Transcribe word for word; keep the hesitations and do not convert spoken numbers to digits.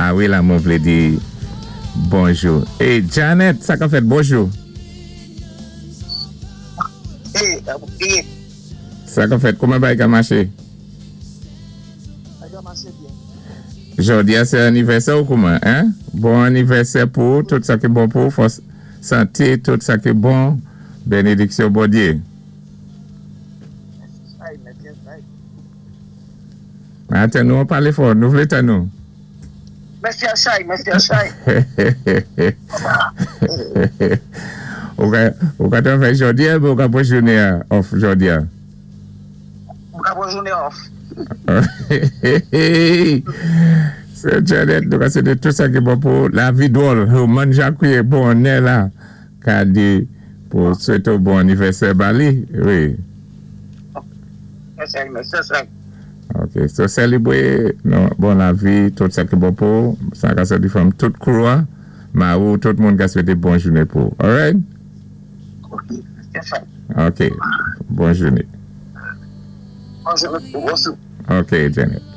A wi, la mwen vlé di bonjou. É Janet, sa ka fèt, bonjou. É, byen. Sa ka fèt, kouman bagay ka maché? Sa ka maché byen. Jòdi a sé anivèsè ou kouman, hein? Bon anivèsè pou ou, tout sa ki bon pou ou, fòs, santé, tout sa ki bon, bénédiksyon Bondyé. Ay, mèsi, ay. Atan nou, palé fò, nou vlé tann nou. Mèsi Achay, mèsi Achay. Ou ka, ou ka travay jòdi a, ou ka pwan jouné a off jòdi a? Ou ka pwan jouné off. Sè Janet, nou ka swété tout sa ki bon pou lavi dwòl. Mwen Jacques bon nè la, ka di pou swété bon anivèsè ba li, wi. Mèsi, mèsi Achay. Ok, so sélébwé nou, bon lavi, tout sa ki bon pou, sa ka sòti from tout crew a, ma ou tout moun ka swété bon jouné pou. Alright? Ok, mèsi Achay. Ok, bon jouné. Bonjou, bonjou. Ok, Janet.